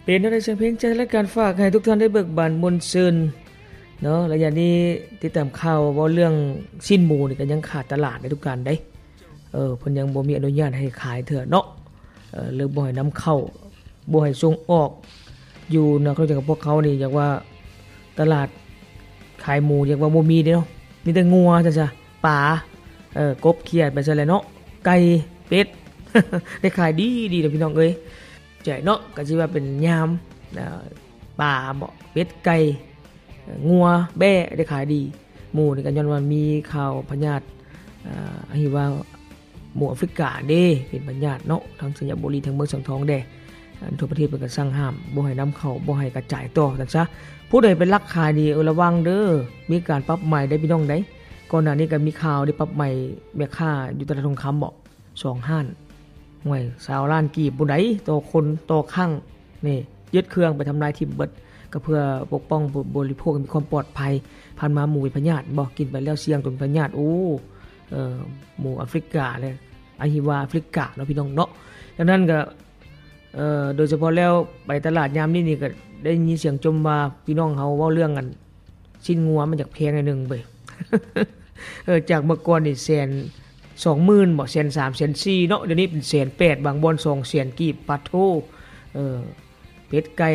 ເປັນແນວໃດສຽງເພງຈາກລາຍການ ຝາກໃຫ້ທຸກທ່ານໄດ້ເບີກບານມ່ວນຊື່ນເນາະ. ໄລຍະນີ້ຕິດຕາມຂ່າວເວົ້າເລື່ອງຊີ້ນໝູນີ້ກໍຍັງຂາດຕະຫຼາດໃນທຸກການເດ້. ເອີ ເພິ່ນຍັງບໍ່ມີອະນຸຍາດໃຫ້ຂາຍເທື່ອເນາະ. ເອີ ເລີຍບໍ່ໃຫ້ນຳເຂົ້າ ບໍ່ໃຫ້ສົ່ງອອກ. ຢູ່ນະຄອນຫຼວງຂອງພວກເຮົານີ້ ຢາກວ່າຕະຫຼາດຂາຍໝູ ຢາກວ່າບໍ່ມີເດ້ເນາະ. ມີແຕ່ງົວຊັ້ນຊະ ປາ ເອີ ກົບ ຂຽດ ໄປຊັ້ນແຫຼະເນາະ. ໄກ່ ເປັດ ໄດ້ຂາຍດີໆເນາະ ພີ່ນ້ອງເອີຍ. ໃຈເນາະ ກໍຊິວ່າເປັນຍາມ ອາ ປາເບາະ ເປັດ ໄກ່ ງົວ ແບ້ ໄດ້ຂາຍດີ. ໝູນີ້ກໍຍ້ອນວ່າມີຂ່າວພະຍາດ ອາ ອະຫິວາ ໝູອາຟຣິກາເດ້ ເປັນພະຍາດເນາະ. ທາງໄຊຍະບູລີ ທາງເມືອງສັງທອງແດ່ ອັນທົ່ວປະເທດເພິ່ນກໍສັ່ງຫ້າມ ບໍ່ໃຫ້ນຳເຂົ້າ ບໍ່ໃຫ້ກະຈາຍຕໍ່ ວ່າຊັ້ນຊະ. ຜູ້ໃດໄປລັກຂາຍນີ້ ເອີ ລະວັງເດີ ມີການປັບໃໝໄດ໋ ພີ່ນ້ອງໃດ໋. ກ່ອນໜ້ານີ້ກໍມີຂ່າວໄດ້ປັບໃໝແມ່ຄ້າຢູ່ຕະຫຼາດທອງຄຳເບາະ ສອງຮ້ານ ຫ້ວຍ ຊາວລ້ານກີບພຸ້ນໃດ໋ ຕໍ່ຄົນ ຕໍ່ຄັ້ງ. ນີ້ ຍຶດເຄື່ອງໄປທຳລາຍຖິ້ມເບິດ ກໍເພື່ອປົກປ້ອງຜູ້ບໍລິໂພກໃຫ້ມີຄວາມປອດໄພ. ຜ່ານມາໝູເປັນພະຍາດເບາະ ກິນໄປແລ້ວສ່ຽງຕົນເປັນພະຍາດ. ໂອ້ ເອີ ໝູອາຟຣິກາ ແລະ ອະຫິວາອາຟຣິກາເນາະ ພີ່ນ້ອງເນາະ. ດັ່ງນັ້ນກໍ ເອີ ໂດຍສະເພາະແລ້ວໄປຕະຫຼາດຍາມນີ້ນີ້ ກໍໄດ້ຍິນສຽງຈົ່ມວ່າ ພີ່ນ້ອງເຮົາເວົ້າເລື່ອງອັນ ຊີ້ນງົວມັນຢາກແພງໜ້ອຍໜຶ່ງເວີຍ. ເອີ ຈາກເມື່ອກ່ອນນີ້ແສນສອງໝື່ນເບາະ ແສນສາມ ແສນສີ່ເນາະ ດຽວນີ້ເປັນແສນແປດ ບາງບ່ອນສອງແສນກີບ. ປາດໂທ້ ເອີ ເປັດໄກ່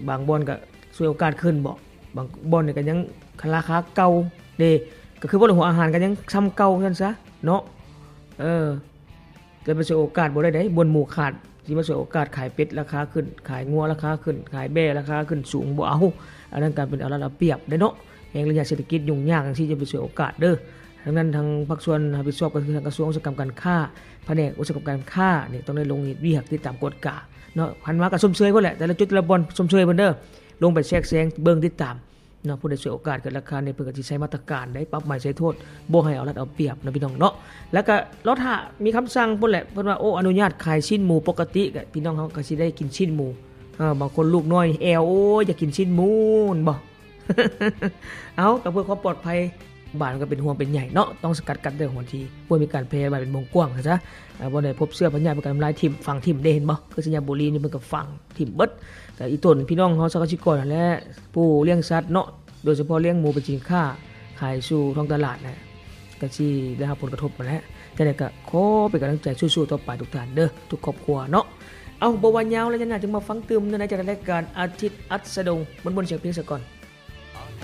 ບາງບ່ອນກໍສວຍໂອກາດຂຶ້ນເບາະ ບາງບ່ອນນີ້ກໍຍັງລາຄາເກົ່າເດ້. ກໍຄືວ່າຫົວອາຫານກໍຍັງຊ່ຳເກົ່າຊັ້ນຊະເນາະ. ເອີ ຈະໄປສວຍໂອກາດບໍ່ໄດ້ໃດ໋ ບ່ອນໝູຂາດ ຊິມາສວຍໂອກາດຂາຍເປັດລາຄາຂຶ້ນ ຂາຍງົວລາຄາຂຶ້ນ ຂາຍແບ້ລາຄາຂຶ້ນສູງ ບໍ່ເອົາ. ອັນນັ້ນການເປັນເອົາລັດເອົາປຽບເດ້ເນາະ. ແຮ່ງລະຍະເສດຖະກິດຫຍຸ້ງຍາກຈັ່ງຊີ້ ຢ່າໄປສວຍໂອກາດເດີ. ດັ່ງນັ້ນ ທາງພາກສ່ວນຮັບຜິດຊອບກໍຄືທາງກະຊວງອຸດສາຫະກຳການຄ້າ ພະແນກອຸດສາຫະກຳການຄ້ານີ້ ຕ້ອງໄດ້ລົງເຮັດວຽກຕິດຕາມກວດກາເນາະ. ພັນມາກໍຊົມເຊີຍພຸ້ນແຫຼະ ແຕ່ລະຈຸດແຕ່ລະບ່ອນ ຊົມເຊີຍເພິ່ນເດີ. ລົງໄປແຊກແຊງເບິ່ງຕິດຕາມ ເນາະ. ຜູ້ໃດສວຍໂອກາດເກີນລາຄານີ້ ເພິ່ນກໍຊິໃສ່ມາດຕະການໄດ້ ປັບໃໝໃສ່ໂທດ ບໍ່ໃຫ້ເອົາລັດເອົາປຽບເນາະ ພີ່ນ້ອງເນາະ. ແລ້ວກໍລໍຖ້າມີຄຳສັ່ງພຸ້ນແຫຼະ ເພິ່ນວ່າ ໂອ້ ອະນຸຍາດຂາຍຊີ້ນໝູປົກກະຕິ ກໍພີ່ນ້ອງເຮົາກໍຊິໄດ້ກິນຊີ້ນໝູ. ເອີ ບາງຄົນລູກນ້ອຍແອວ ໂອ້ຍ ຢາກກິນຊີ້ນໝູ ແມ່ນບໍ່? ເອົາ ກໍເພື່ອຄວາມປອດໄພ ບ້ານກໍເປັນຫ່ວງເປັນໃຍເນາະ. ຕ້ອງສະກັດກັ້ນແຕ່ຫົວທີ ບໍ່ໃຫ້ມີການແຜ່ລະບາດເປັນວົງກວ້າງຊະ. ເອີ ບໍ່ໄດ້ພົບເຊື້ອພະຍາດ ເພິ່ນກໍທຳລາຍຖິ້ມ ຝັງຖິ້ມເດ້ ເຫັນບໍ່? ຄືໄຊຍະບູລີນີ້ ເພິ່ນກໍຝັງ ຖິ້ມເບິດ. ກໍອີຕົນພີ່ນ້ອງເຮົາຊາວກະສິກອນຫັ້ນແຫຼະ ຜູ້ລ້ຽງສັດເນາະ ໂດຍສະເພາະລ້ຽງໝູເປັນສິນຄ້າຂາຍສູ່ທ້ອງຕະຫຼາດນະ ກໍຊິໄດ້ຮັບຜົນກະທົບຫັ້ນແຫຼະ. ຈັ່ງໃດກໍຂໍເປັນກຳລັງໃຈສູ້ໆຕໍ່ໄປທຸກທ່ານເດີ ທຸກຄອບຄົວເນາະ. ເອົາ ບໍ່ວ່າຍາວແລ້ວ ຍາມໜ້າຈຶ່ງມາຟັງຕື່ມໃນ ໃນຈັດລາຍການອາທິດອັດສະດົງ ມ່ວນໆສຽງເພງສາກ່ອນ.